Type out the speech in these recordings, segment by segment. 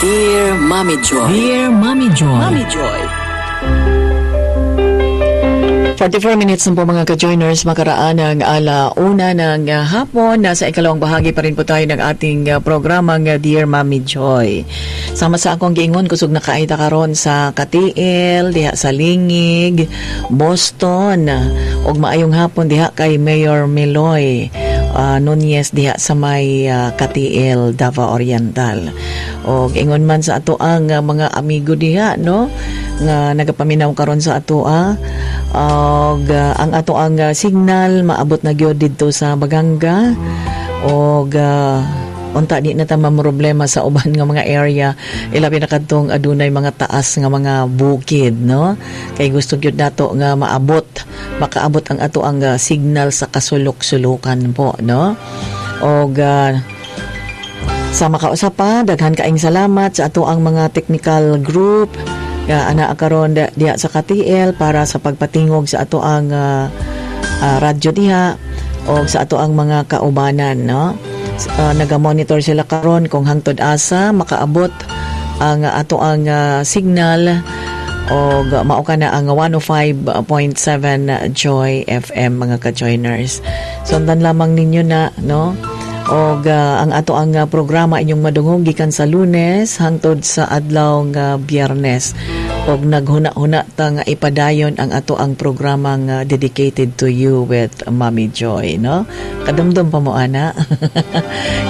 Dear Mommy Joy. Dear Mommy Joy. Mommy Joy. 44 minutes na po, mga ka-joiners, makaraan ang 1:00 ng hapon. Nasa ikalawang bahagi pa rin po tayo ng ating programang Dear Mommy Joy. Sama sa akong giingon, kusog na kaayo ta karon sa Cateel, diha sa Lingig, Boston. Ug maayong hapon diha kay Mayor Meloy Nunez diha sa may Cateel, Davao Oriental. Og ingon man sa ato ang mga amigo diha, no, nga nagapaminaw karon sa atoa. Og ang ato ang signal maabot na gyud didto sa Baganga og unta di na ta problema sa uban nga mga area, ilabi na kadtong adunay mga taas nga mga bukid, no, kay gusto gyud nato nga maabot makaabot ang ato ang signal sa kasulok-sulukan po, no. Og sa makausa pa, daghan kaayong salamat sa ato ang mga technical group nga ana karon diha sa KTL para sa pagpatingog sa ato ang radyo diha o sa ato ang mga kaubanan, no. Naga-monitor sila karon kung hangtod asa makaabot ang ato ang signal og mao kana ang 105.7 Joy FM, mga ka-joiners. Sundan lamang ninyo na, no. Og ang ato ang programa inyong madungog gikan sa Lunes hangtod sa adlaw nga Biyernes. Og naghuna-huna ta nga ipadayon ang ato ang programang dedicated to you with Mommy Joy, no? Kadumdum pa mo ana?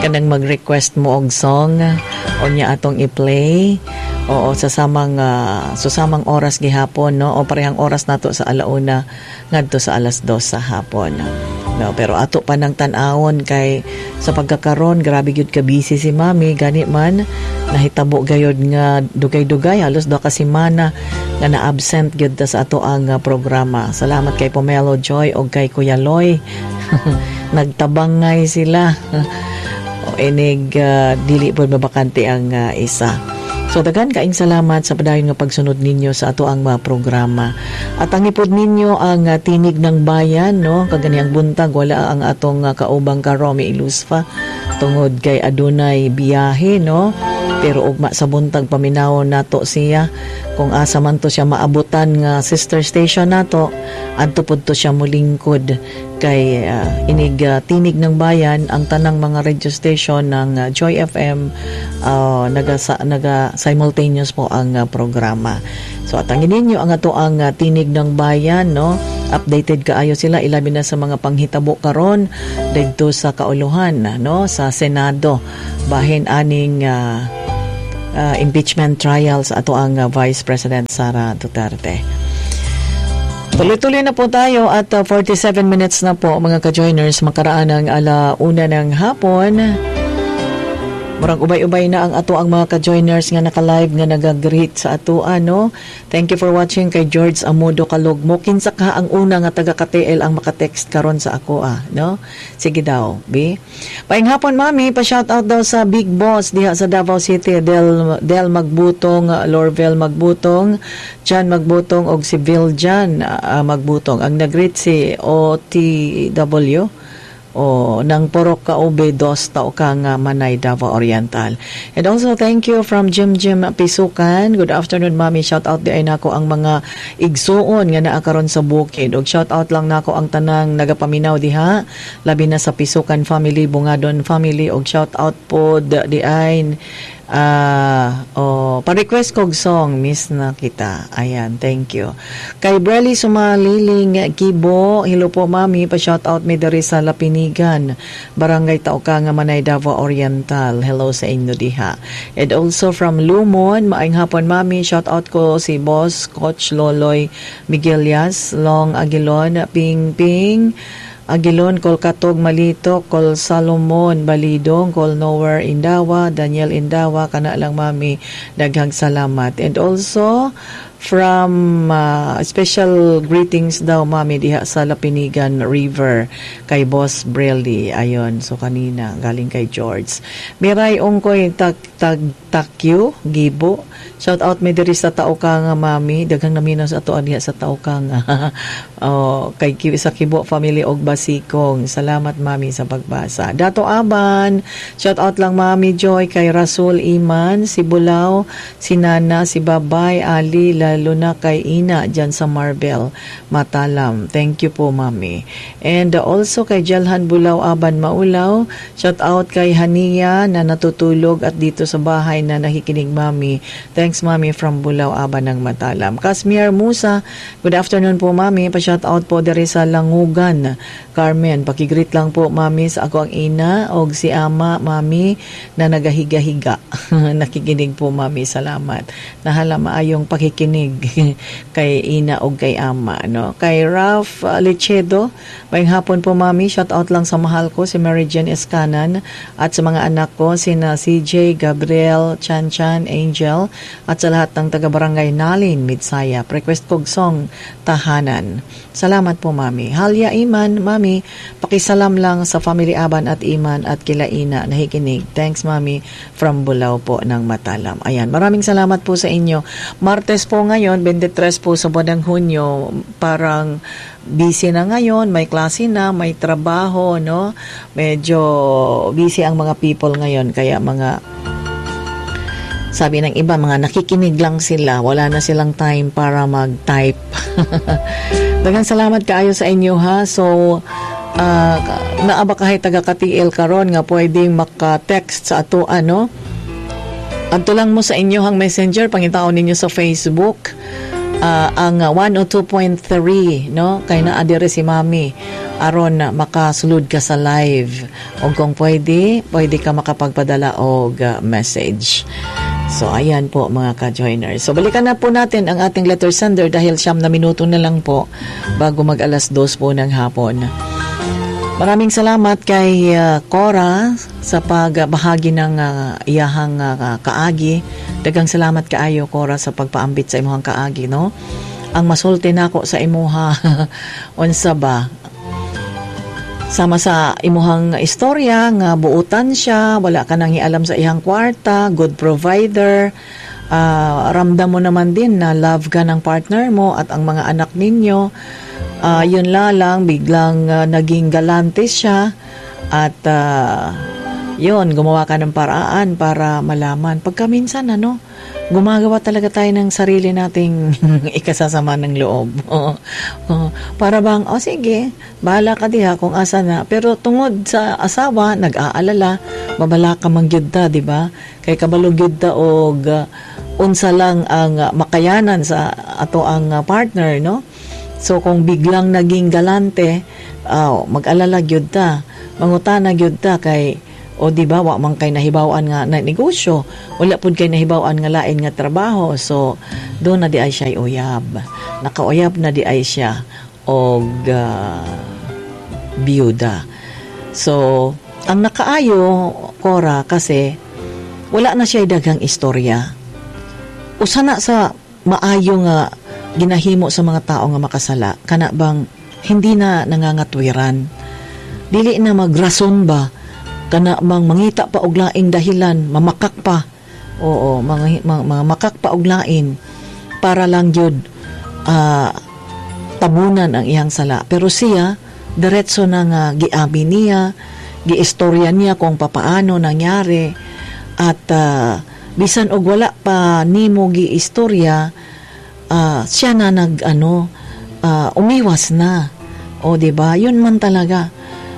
Kanang mag-request mo og song o nya atong i-play. Oo, sa samang oras gihapon, no? O parehang oras nato sa 1:00 ngadto sa 2:00 sa hapon. No, pero ato pa nang tan-awon kay sa pagkakaron grabe gyud ka busy si Mami, gani man nahitabo gayod nga dugay-dugay, halos 2 ka semana nga na-absent gyud ta sa ato ang programa. Salamat kay Pomelo Joy og kay Kuya Loy. Nagtabangay sila. O inig dili pod mabakante ang isa. So daghan kaayong salamat sa padayon nga pagsunod ninyo sa ato ang mga programa. At ang ipod ninyo ang Tinig ng Bayan, no? Kaganihang buntag wala ang atong kaubang ka Romy Ilusfa tungod kay adunay biyahe, no? Pero ugma sa buntag paminawon nato siya kung asa man to siya maabutan nga sister station nato, adto pud to siya mulingkod kay inig Tinig ng Bayan, ang tanang mga radio station ng Joy FM naga simultaneous po ang programa. So atangin ninyo ang ato ang Tinig ng Bayan, no. Updated kaayo sila, ilabi na sa mga panghitabo karon didto sa kauluhan, no, sa Senado, bahin aning impeachment trials ato ang Vice President Sara Duterte. Tuloy-tuloy na po tayo at 47 minutes na po, mga ka-joiners, makaraan ang 1:00 ng hapon. Murag ubay-ubay na ang ato ang mga ka-joiners nga naka-live nga nag-greet sa ato, ano. Thank you for watching kay George Amodo Kalugmo. Kinsa ka ang una nga taga KTL ang maka-text karon sa ako ah, no? Sige daw, B. Maayong hapon, Mami, pa shout out daw sa Big Boss diha sa Davao City, Del Del Magbutong, Lorvel Magbutong, Jan Magbutong og si Viljan Magbutong. Ang nag-greet si OTW o ng Porok Kaube dos Taukang Manay, Davao Oriental. And also thank you from Jim Jim Pisukan. Good afternoon, Mami. Shout out diay nako ang mga igsuon nga naa karon sa bukid. Og shout out lang nako ang tanang nagapaminaw diha, labi na sa Pisukan family, Bungadon family, og shout out po diay. Oh, pa-request kog song, miss na kita. Ayan, thank you. Kay Brelly Sumaliling Kibo, hello po, Mami, pa-shout out mi diri sa Lapinigan, Barangay Taukang, Manay, Davao Oriental. Hello sa inyo diha. And also from Lumon, maayong hapon, Mami, shout out ko si Boss Coach Loloy Miguelias, Long Aguilon, Ping Ping Aguilon, Kol Katog Malito, Kol Salomon Balidong, Kol Nowhere Indawa, Daniel Indawa, kana lang, Mami, daghang salamat. And also, From special greetings daw, Mami, diha sa Lapinigan River kay Boss Brelly. Ayon, so kanina galing kay George. Miray Ongkoy tag tag takyo Gibo. Shout out mi diri sa Taoka nga, Mami. Daghang naminaw sa ato diha sa Taoka nga. Oh, kay sa Kibo family og Basikong. Salamat, Mami, sa pagbasa. Dato Aban, shout out lang, Mami Joy, kay Rasul Iman, si Bulaw, si Nana, si Babay, Ali, lalo na kay Ina dyan sa Marbel, Matalam. Thank you po, Mami. And also kay Jalhan Bulaw Aban Maulaw, shout out kay Hania na natutulog at dito sa bahay na nakikinig, Mami. Thanks, Mami, from Bulaw Aban ng Matalam. Kasmier Musa, good afternoon po, Mami. Pa-shout out po diri sa Langugan. Carmen, pakigreet lang po, Mami, sa ako ang ina og si ama, Mami, na nagahiga-higa. Nakikinig po, Mami. Salamat. Nahala maayong pakikinig kay ina og kay ama, no? Kay Ralph Lechedo, maayong hapon po, Mami. Shout out lang sa mahal ko si Mary Jane Escanan at sa mga anak ko sina CJ, Gabriel, Chan Chan, Angel at sa lahat ng taga-barangay Nalin, Midsaya. Request kog song Tahanan. Salamat po, Mami. Halya Iman, Mami, pakisalam lang sa family Aban at Iman at kila Ina nakikinig. Thanks, Mami, from Bulao po ng Matalam. Ayan, maraming salamat po sa inyo. Martes po ngayon, 23 po sa buwan ng Hunyo, parang busy na ngayon, may klase na, may trabaho, no? Medyo busy ang mga people ngayon, kaya mga sabi ng iba, mga nakikinig lang sila, wala na silang time para mag-type. Daghang salamat kaayo sa inyo, ha. So, naa ba kahay taga ka-TL karon nga pwedeng maka-text sa ato, ano? Adto lang mo sa inyohang Messenger, pangitaon ninyo sa Facebook ang 102.3, no, kay naa diri si Mami aron na makasulod ka sa live og kung pwede pwede ka makapagpadala og message. So ayan po, mga ka-joiners. So balikan na po natin ang ating letter sender dahil 9 na minuto na lang po bago mag alas 2 po ng hapon. Maraming salamat kay Cora sa pagbahagi ng iyahang kaagi. Daghang salamat kaayo, Cora, sa pagpaambit sa imong kaagi, no? Ang masulti nako sa imuha, unsa ba? Sama sa imuhang istorya nga buutan siya, wala ka nang alam sa iyang kwarta, good provider, ramdam mo naman din na love ka ng partner mo at ang mga anak ninyo. Yun la lang, biglang naging galante siya at yun, gumawa ka ng paraan para malaman. Pagka minsan, ano, gumagawa talaga tayo ng sarili nating ikasasama ng loob. Oh. Para bang, oh sige, bahala ka diha kung asa na. Pero tungod sa asawa, nag-aalala, babala ka man gyud ta, di ba? Kay kabalo gyud ta og unsa lang ang makayanan sa ato ang partner, no? So kung biglang naging galante, mag-alala gyud ta. Mangutana gyud ta kay o di ba wa man kay nahibaw-an nga na negosyo, wala pud kay nahibaw-an nga lain nga trabaho. So do na di ay siya uyab. Nakauyab na di ay siya og biyuda. So ang nakaayo, Cora, kasi wala na siya daghang istorya. Usa na sa maayo nga ginahimo sa mga tao nga makasala, kana bang hindi na nangangatwiran, dili na magrason ba, kana bang mangita pa og laing dahilan, mamakak pa, oo, mga makak pa og lain para lang gyud tabunan ang iyang sala. Pero siya, diretso na nga giabi niya, giistorya niya kung papaano nangyari at bisan og wala pa nimo giistorya, siya na nag ano, umiwas na. O di ba? Yun man talaga.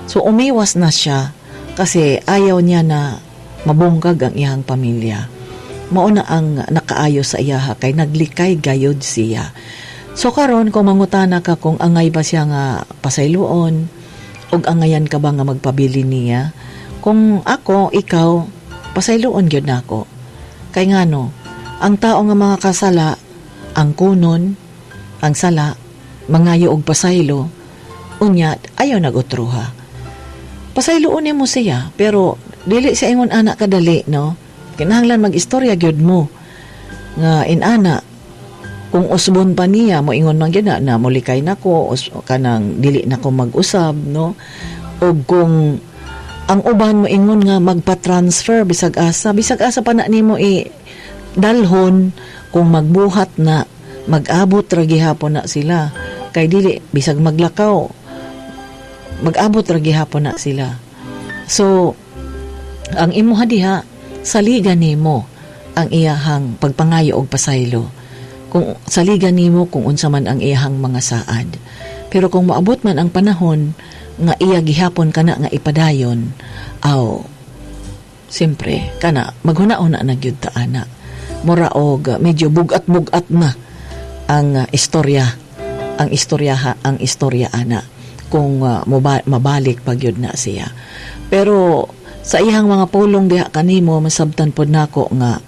So umiwas na siya kasi ayaw niya na mabungkag ang iyang pamilya. Mao na ang nakaayo sa iyaha kay naglikay gayod siya. So karon, kung mangutana ka kung angay ba siya nga pasayloon og angayan ka ba nga magpabili niya, kung ako, ikaw, pasayloon gyud nako. Kay ngano, ang tao nga mga kasala, ang kunon, ang sala, mangayo og pasaylo, unya ayaw nag-utruha. Pasayloon mo siya, pero dili sa ingon ana kadali, no? Kinahanglan mag-istorya gyud mo nga inana. Kung usbon pa niya, moingon man gyud na molikay nako, kanang dili na ko mag-usab, no? O kung ang uban moingon nga magpa-transfer bisag asa pa na nimo i dalhon, kung magbuhat na, mag-abot ra gihapon na sila. Kay dili bisag maglakaw, mag-abot ra gihapon na sila. So ang imuha diha, saligan nimo ang iyahang pagpangayo og pasaylo. Kung saligan nimo kung unsa man ang iyahang mga saad. Pero kung moabot man ang panahon nga iya gihapon kana nga ipadayon, aw siyempre kana maghuna-huna na gyud ta ana. Mura og medyo bugat-bugat na ang istorya, ang istorya ha, ang istorya ana kung mabalik pa gyud na siya. Pero sa iyang mga pulong diha kanimo, masabtan pod nako nga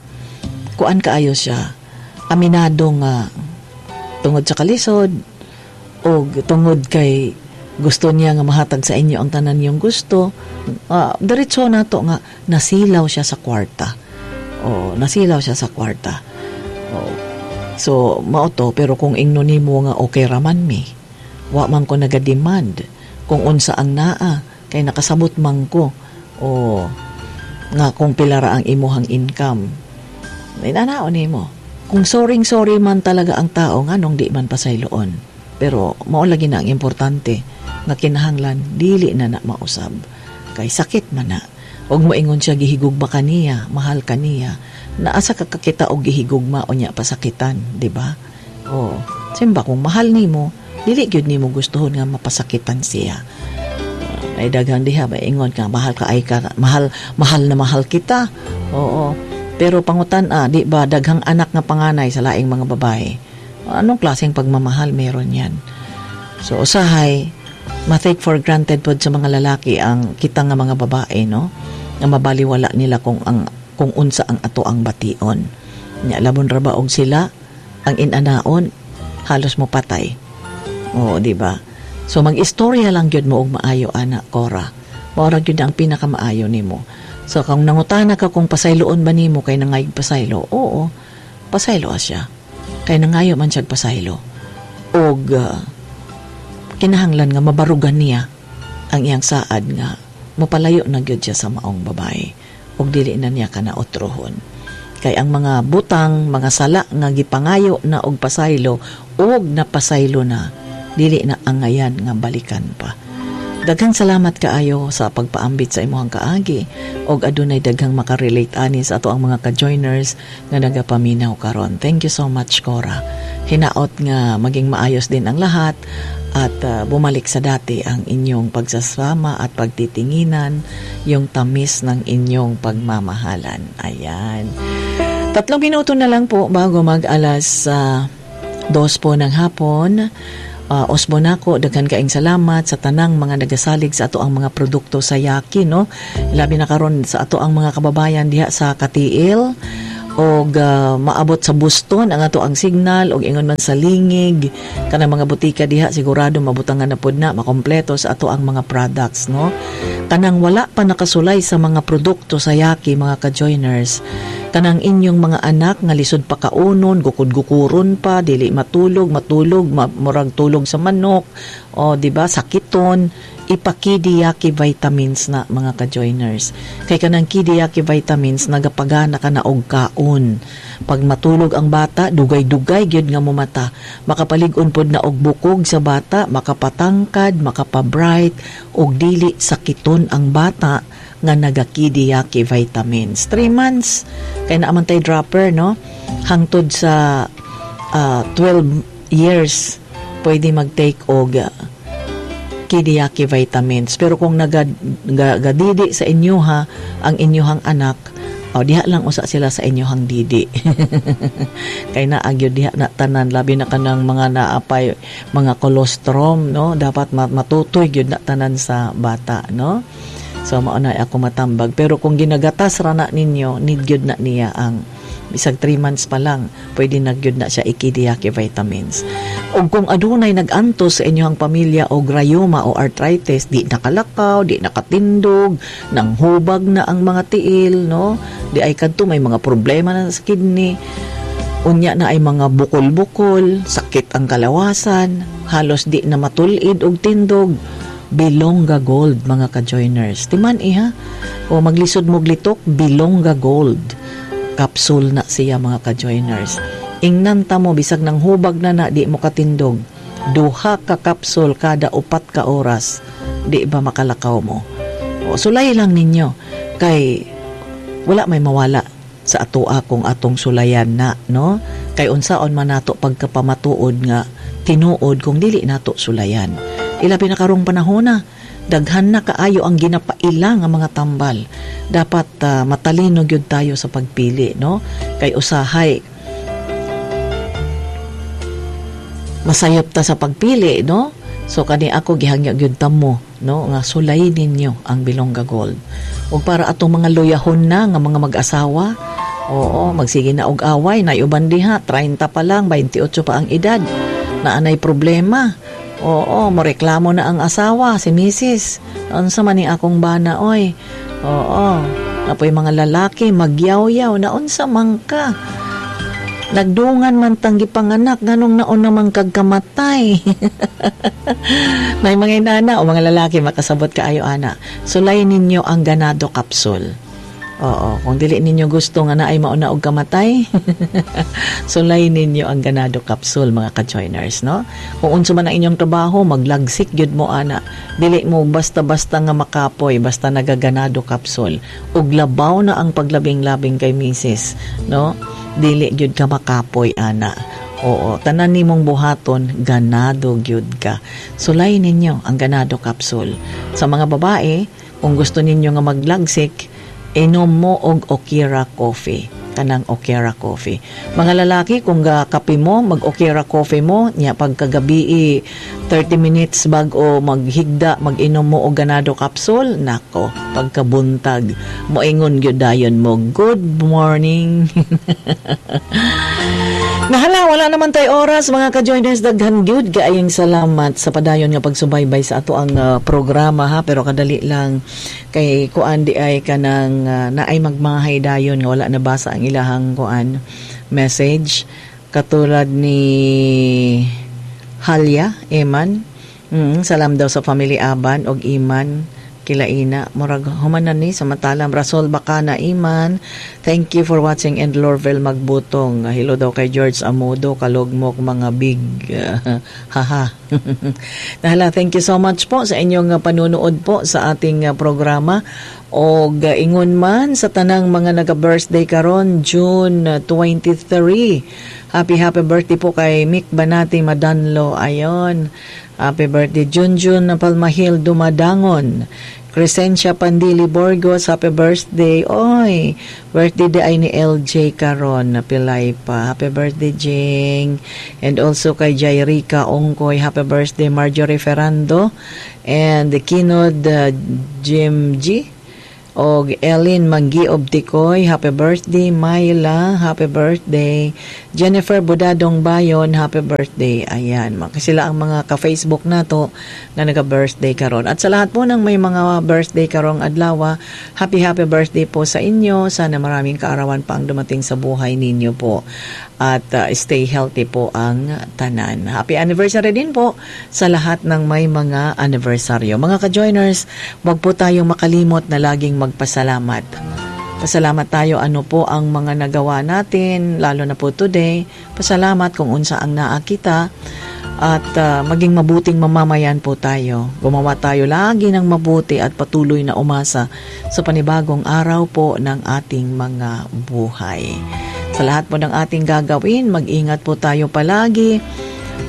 kuan kaayo siya, aminado nga tungod sa kalisod o tungod kay gusto niya nga mahatag sa inyo ang tanan niyong gusto. Diretso nato nga nasilaw siya sa kwarta. O nasilaw siya sa kwarta. O, so mao to. Pero kung ingno nimo nga okay raman mi, wa man ko naga-demand kung unsa ang naa kay nakasabot man ko, o nga kung pila ra ang imuhang income, inanaon nimo. Kung sorry sorry man talaga ang tao, nganong di man pasayloon? Pero mao lagi na ang importante nga kinahanglan dili na na mausab kay sakit man na. Og moingon siya gihigugma kaniya, mahal kaniya, naasa ka kakita og gihigugma unya pasakitan, di ba? O simba, kung mahal nimo, dili gyud nimo gustuhon nga mapasakitan siya. Ay daghan diha ba ingon ka mahal ka ay ka mahal, mahal na mahal kita. Oo. Pero pangutan di ba daghang anak nga panganay sa laing mga babae? Anong klaseng pagmamahal meron yan? So usahay ma-take for granted pod sa mga lalaki ang kita nga mga babae, no? Nga mabaliwala nila kung unsa ang ato ang bation. Nya labon ra ba og sila ang inanaon, halos mo patay. Oo, di ba? So mag-istorya lang gyud mo og maayo ana, Cora. Mao ra gyud ang pinakamaayo nimo. So kung nangutana ka kung pasayloon ba nimo kay nangayog pasaylo, oo, pasaylo siya. Kay nangayo man siya pasaylo. Og kinahanglan nga mabarugan niya ang iyang saad nga mopalayo na gyud siya sa maong babae ug dili na niya kana otrohon. Kay ang mga butang, mga sala nga gipangayo na og pasaylo og napasaylo na, dili na angayan nga balikan pa. Daghang salamat kaayo sa pagpaambit sa imong kaagi og adunay daghang makarelate ani sa ato ang mga ka-joiners nga nagapaminaw karon. Thank you so much, Cora. Hinaot nga maging maayos din ang lahat at bumalik sa dati ang inyong pagsasama at pagtitinginan, yung tamis ng inyong pagmamahalan. Ayan. 3 minuto na lang po bago mag alas 2 po ng hapon. Osbo nako, daghan kaing salamat sa tanang mga nagasalig sa ato ang mga produkto sa Yaki, no? Labi na karon sa ato ang mga kababayan diha sa Katiil og maabot sa Buston ang ato ang signal og ingon man sa Lingig, kanang mga butika diha, sigurado mabutangan na pod na makompleto sa ato ang mga products, no? Kanang wala pa nakasulay sa mga produkto sa Yaki, mga ka-joiners, kanang inyong mga anak nga lisod pa kaunon, gukod-gukuron pa, dili matulog, matulog murag tulog sa manok o di ba sakiton, ipakidiyaki vitamins na, mga ka-joiners. Kay kanang Kidiyaki vitamins, nagapagana ka na og kaon. Pag matulog ang bata, dugay-dugay gyud nga mumata. Makapalig-on pod na og bukog sa bata, makapatangkad, makapabright, og dili sakiton ang bata nga nagakidiyaki vitamins. 3 months, kay naa man tay dropper, no? Hangtod sa 12 years, pwede mag-take og Kidiyaki vitamins. Pero kung nagadidi sa inyo ha, ang inyuhang anak, oh, diha lang usa sila sa inyuhang didi. Kay naa gyud diha na tanan, labi na kanang mga naapay mga colostrum, no? Dapat matutoy gyud na tanan sa bata, no? So mao na ako matambag. Pero kung ginagatas ra na ninyo, need gyud na niya ang bisag 3 months pa lang, pwede na gyud na siya ikidiyaki vitamins. Og kung adunay nag-antos sa inyong pamilya og rayuma o arthritis, di nakalakaw, di nakatindog, nang hubag na ang mga tiil, no? Di ay kadto may mga problema na sa kidney. Unya na ay mga bukol-bukol, sakit ang kalawasan, halos di na matulid og tindog. Bilongga Gold, mga ka-joiners. Timan iha, o maglisod mo litok, Bilongga Gold. Capsule na siya, mga ka-joiners. Ingnan ta mo, bisag nang hubag na na, di mo katindog. Duha ka capsule kada 4 ka oras, di ba makalakaw mo? O, sulay lang ninyo. Kay wala may mawala sa atoa kung atong sulayan na, no? Kay unsaon man nato pagkapamatuod nga tinuod kung dili nato sulayan? Ilabi na karong panahon na, daghan na kaayo ang ginapaila nga mga tambal. Dapat matalino gyud tayo sa pagpili, no? Kay usahay masayop ta sa pagpili, no? So kani ako gihangyo gyud ta mo, no, nga sulay ninyo ang Bilongga Gold. Ug para atong mga luyahon na nga mga mag-asawa, oo, magsige na og away, na uban diha, 30 pa lang, 28 pa ang edad, na anay problema. Oo, moreklamo na ang asawa, si misis. "Unsa man ni akong bana, oy?" Oo. Apoy mga lalaki, magyaw-yaw na, "Unsa man ka? Nagdungan man tang gipanganak, nganong naon naman kag kamatay?" May mga inana o mga lalaki makasabot kaayo ana. Sulay ninyo ang Ganado Capsule. Oo, kung dili ninyo gusto nga naay mauna og kamatay, sulay ninyo ang Ganado Capsule, mga ka-joiners, no? Kung unsa man ang inyong trabaho, maglagsik gyud mo ana. Dili mo basta-basta nga makapoy basta nagaganado capsule. Ug labaw na ang paglabing-labing kay misis, no? Dili gyud ka makapoy ana. Oo, tanan nimong buhaton, ganado gyud ka. Sulay ninyo ang Ganado Capsule. Sa mga babae, kung gusto ninyo nga maglagsik, inom mo og Okira Coffee, kanang Okera Coffee. Mga lalaki, kung ga kape mo, mag Okera Coffee mo, nya pagkagabi 30 minutes bag-o maghigda, mag-inom mo og Ganado Capsule, nako, pagkabuntag, moingon gyud dayon mo, "Good morning." Nahala, wala naman tayo oras, mga ka-joiners. Daghan gyud kaayong salamat sa padayon nga pagsubaybay sa ato ang programa ha, pero kadali lang kay kuan di ay kanang naay magmahay dayon nga wala nabasa ang ilahang kuan message, katulad ni Halya Eman. Salam daw sa family Aban og Iman Kilaina. Murag humanan ni samatalam Rasol Bacana Iman. Thank you for watching, and Lorvel Magbutong. Hello daw kay George Amodo, kalugmok mga big. Haha. Nahala, thank you so much po sa inyong panunood po sa ating programa. Og ingon man sa tanang mga naga-birthday karon June 23. Happy happy birthday po kay Mick Banati Madanlo. Ayon. Happy birthday Junjun Palmahil Dumadangon. Crescencia Pandili Borgos, happy birthday. Oy, birthday day ay ni LJ karon na pilay pa. Happy birthday, Jing. And also kay Jairica Ongkoy, happy birthday. Marjorie Ferrando and Kinod Jim G og Ellen Manggi Tikoy, happy birthday. Myla, happy birthday. Jennifer Budadong Bayon, happy birthday. Ayan, sila ang mga ka-Facebook nato na naga-birthday karon. At sa lahat po ng may mga birthday karong adlaw, happy happy birthday po sa inyo. Sana maraming kaarawan pa ang dumating sa buhay ninyo po. At stay healthy po ang tanan. Happy anniversary din po sa lahat ng may mga anniversaryo. Mga ka-joiners, wag po tayong makalimot na laging magpasalamat. Pasalamat tayo ano po ang mga nagawa natin, lalo na po today. Pasalamat kung unsa ang naa kita at maging mabuting mamamayan po tayo. Gumawa tayo lagi ng mabuti at patuloy na umasa sa panibagong araw po ng ating mga buhay. Sa lahat po ng ating gagawin, mag-ingat po tayo palagi.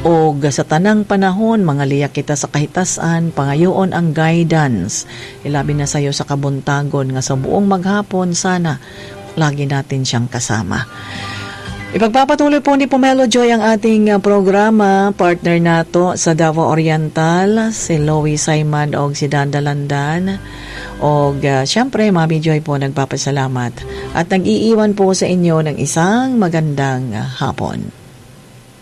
O sa tanang panahon, mga liyak kita sa kahitasan, pangayoon ang guidance. Ilabi na sayo sa kabuntagon nga sa buong maghapon, sana lagi natin siyang kasama. Ipagpapatuloy po ni Pomelo Joy ang ating programa. Partner nato sa Davao Oriental, si Loie Simon og si Danda Landan. Og syempre, Mami Joy po nagpapasalamat at nag-iiwan po sa inyo ng isang magandang hapon.